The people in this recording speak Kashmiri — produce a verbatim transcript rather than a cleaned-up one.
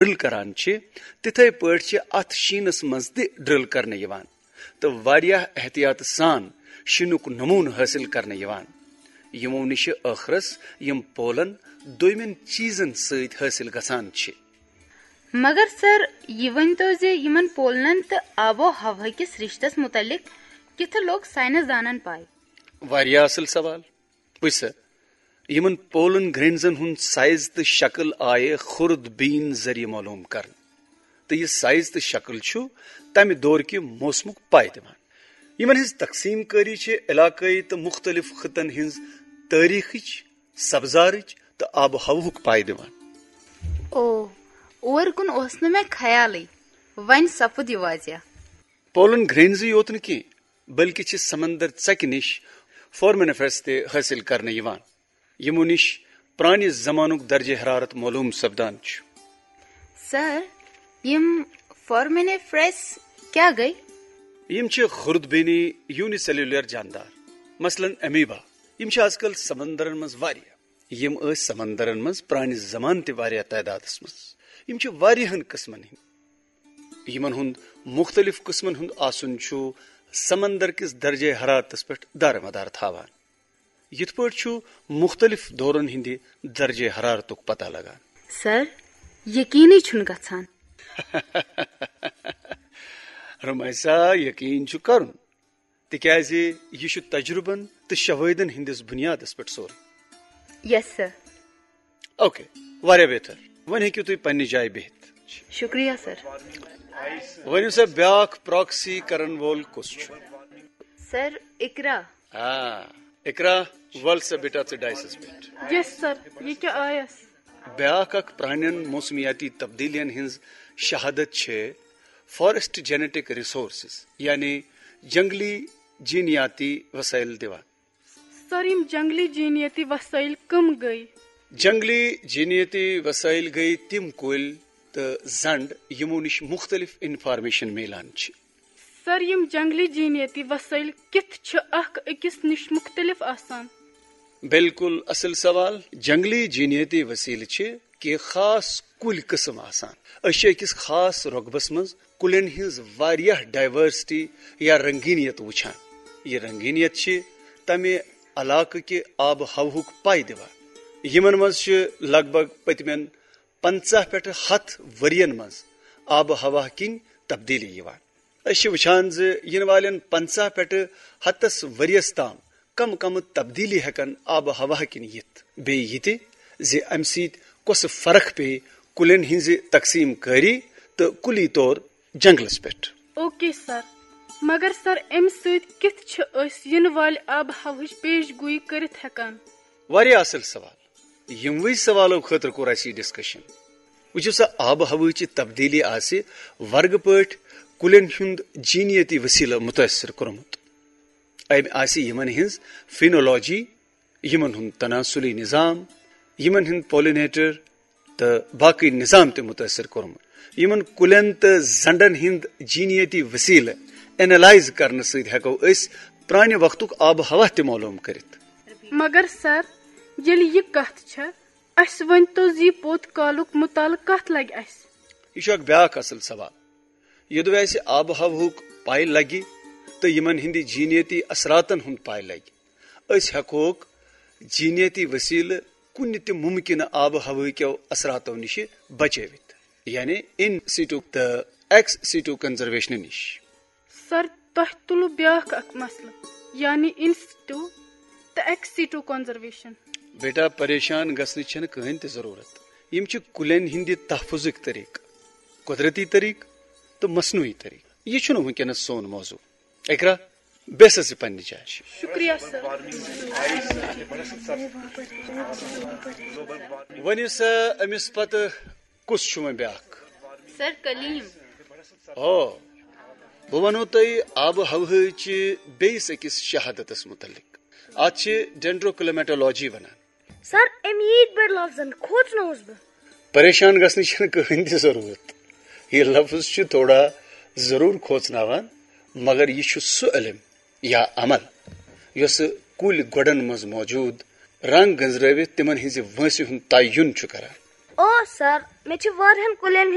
ڈرل کران چھِ، تِتھے پٲٹھۍ چھِ اتھ شیٖنس منٛز تہِ ڈرل کرنہٕ یِوان تہٕ واریاہ احتیاط سان شیٖنُک نموٗنہٕ حٲصِل کرنہٕ یِوان، یِمو نِشہِ ٲخرس یِم پولن دوٚیمٮ۪ن چیٖزن سۭتۍ حٲصِل گژھان چھِ۔ مگر سر، یہِ ؤنۍ تو زِ یِمن پولنن تہٕ آب و ہوا کِس رشتس متعلق کِتھٕ لوٚگ ساینس دانن پاے؟ واریاہ اصل سوال۔ وٕچھ سا، یِمن پولن گرینزن ہُنٛد سائز تہٕ شکل آیہِ خورد بین ذٔریعہٕ معلوم کرنہٕ، تہٕ یہِ سائز تہٕ شکل چھُ تمہِ دورٕ کہِ موسمُک پاے دِوان۔ یِمن ہٕنٛز تقسیٖم کٲری چھِ علاقٲیی تہٕ مُختٔلِف خطن ہٕنٛز تٲریخٕچ، سبزارٕچ تہٕ آب و ہوہُک پاے دِوان۔ او، اور کُن اوس نہٕ مےٚ خیالٕے۔ وۄنۍ سپُد یہِ واضح۔ پولن گرینزٕے یوت نہٕ کینٛہہ، بلکہِ چھِ سمندر ژکہِ نِش فورمینیفرس تہِ حٲصِل کرنہٕ یِوان، یِمو نِش پرانہِ زمانُک درجہ حرارت معلوم سپدان چھُ۔ سر، یِم فورمینیفرس کیٛاہ گٔے؟ یِم چھِ خورد بینی یونی سیلولر جاندار، مثلاً امیبا۔ یِم چھِ آز کل سمندرن منٛز واریاہ۔ یِم ٲسۍ سمندرن منٛز پرانہِ زمانہٕ تہِ واریاہ تعدادس منٛز۔ یِم چھِ واریاہن قٕسمن ہٕنٛدۍ۔ یِمن ہُنٛد مُختٔلِف قٕسمن ہُنٛد آسُن چھُ سمندر کِس درجہ حرارتس پٮ۪ٹھ دارمدار تھاوان۔ یِتھ پٲٹھۍ چھُ مُختٔلِف دورن ہٕنٛدِ درجہ حرارتُک پتہ لگان۔ سر، یقینٕے چھُنہٕ گژھان۔ رمیسا، یقین چھُ کرُن، تِکیازِ یہِ چھُ تجربن تہٕ شوٲہدن ہٕنٛدِس بُنیادس پٮ۪ٹھ سورُے۔ یس سر۔ اوکے، واریاہ بہتر۔ وۄنۍ ہیٚکِو تُہۍ پننہِ جایہِ بِہِتھ۔ شُکریہ سر۔ ؤنِو سا، بیٛاکھ پراکسی کرن وول کُس چھُ؟ سر، اقرا۔ آ، اقرا، ول سا بیٹا ژٕ ڈایسس پٮ۪ٹھ۔ یس سر، یہِ کیٛاہ آیس؟ بیٛاکھ اکھ پرانٮ۪ن موسمیاتی تبدیلیَن ہٕنٛز شہادت چھِ فارسٹ جینیٹک ریسورسز، یعنی جنگلی جینیاتی وسائل دِوان۔ سر، یِم جنگلی جینیٲتی وسٲیل کم گٔے؟ جنگلی جینیٲتی وسائل گٔے تِم کُلۍ تہٕ زنٛڈ یِمو نِش مُختٔلِف انفارمیشن میلان چھِ۔ سر، یِم جنگلی جینیٲتی وسٲیل کِتھ چھِ اکھ أکِس نِش مُختٔلِف آسان؟ بالکل اصل سوال۔ جنگلی جینیٲتی وسیلہٕ چھِ کینٛہہ خاص کُلۍ قٕسم آسان۔ أسۍ چھِ أکِس خاص رۄقبس منٛز کُلٮ۪ن ہٕنٛز واریاہ ڈائیورسٹی یا رنگینیت وٕچھان۔ یہِ رنگینیت چھِ تمہِ علاقہٕ کہِ آب و ہوہُک پاے دِوان۔ یِمن منٛز چھِ لگ بھگ پٔتمٮ۪ن پنٛژاہ پٮ۪ٹھٕ ہَتھ ؤرین منٛز آب و ہوا کِنۍ تبدیلی یِوان۔ أسۍ چھِ وٕچھان زِ یِنہٕ والٮ۪ن پنٛژاہ پٮ۪ٹھٕ ہَتس ؤریَس تام کم کم تبدیلی ہٮ۪کن آب و ہوا کِنۍ یِتھ۔ بیٚیہِ یہِ تہِ زِ اَمہِ سۭتۍ کۄسہٕ فرق پیٚیہِ کُلٮ۪ن ہٕنٛزِ تقسیٖم کٲری تہٕ کُلی طور جنگلس پٮ۪ٹھ۔ اوکے سر، مگر سر، امہِ سۭتۍ کِتھ چھِ أسۍ یِنہٕ والہِ آب و ہوہٕچ پیش گویی کٔرِتھ ہٮ۪کان؟ واریاہ اصل سوال۔ یِموٕے سوالو خٲطرٕ کوٚر اَسہِ یہِ ڈسکشن۔ وٕچھِو سا، آب و ہوہٕچہِ تبدیلی آسہِ ورگہٕ پٲٹھۍ کُلٮ۪ن ہُنٛد جینیٲتی وسیلہٕ مُتٲثر کوٚرمُت۔ أمۍ آسہِ یِمن ہٕنٛز فینولوجی، یِمن ہُنٛد تناسلی نظام، یِمن ہُنٛد پولینیٹر تہٕ باقٕے نظام تہِ مُتٲثر کوٚرمُت۔ یِمن کُلٮ۪ن تہٕ زنٛڈن ہٕنٛد جینیٲتی وسیلہٕ اینالائز کرنہٕ سۭتۍ ہٮ۪کو أسۍ پرانہِ وقتُک آب و ہوا تہِ معلوم کٔرِتھ۔ مگر سر، ییٚلہِ یہِ کتھ چھےٚ، اسہِ ؤنۍ تو زِ یہِ پوٚت کالُک مطالعہٕ کتھ لگہِ اسہِ؟ یہِ چھُ اکھ بیاکھ اصل سوال۔ یوٚدوے اسہِ آب و ہوہُک پاے لگہِ تہٕ یِمن ہٕنٛدِ جینیٲتی اثراتن ہُنٛد پاے لگہِ، أسۍ ہٮ۪کوکھ جینیٲتی وسیلہٕ کُنہِ تہِ ممکنہٕ آب و ہوہٕکیو اثراتو نِش بچٲوِتھ، یعنی ان سیٹو تہٕ ایکس سیٹو کنزرویشن نِش۔ سر، تۄہہِ تُلوٕ بیٛاکھ اکھ مسلہٕ، یعنی in situ تہٕ ex situ conservation۔ بیٹا، پریشان گژھنٕچ چھنہٕ کٕہٕنۍ تہِ ضروٗرت۔ یِم چھِ کُلٮ۪ن ہٕنٛدِ تحفظٕکۍ طریقہٕ، قۄدرتی طریقہٕ تہٕ مصنوعی طریقہٕ۔ یہِ چھُنہٕ وٕنکیٚنس سون موضوع۔ اقرا، بیٚہہ سا ژٕ پننہِ جایہِ۔ شُکریہ سر۔ ؤنِو سا، أمِس پتہٕ کُس چھُ وۄنۍ بیٛاکھ؟ سر کلیم۔ او، بہٕ وَنو تۄہہِ آب و ہوہٕچہِ بیٚیِس أکِس شہادتس مُتعلق۔ اتھ چھِ ڈینڈروکلیمیٹولوجی ونان۔ سر، أمۍ ییٖتۍ بٔڑۍ لفظن کھوژنووُس بہٕ۔ پریشان گژھنٕچ چھنہٕ کٕہٕنۍ تہِ ضروٗرت۔ یہِ لفظ چھُ تھوڑا ضروٗر کھوژناوان، مگر یہِ چھُ سُہ علم یا عمل یۄسہٕ کُلۍ گۄڈن منٛز موجود رنگ گنزرٲوِتھ تِمن ہٕنٛزِ وٲنٛسہِ ہُنٛد تعین چھُ کران۔ او سر، مےٚ چھِ واریاہن کُلٮ۪ن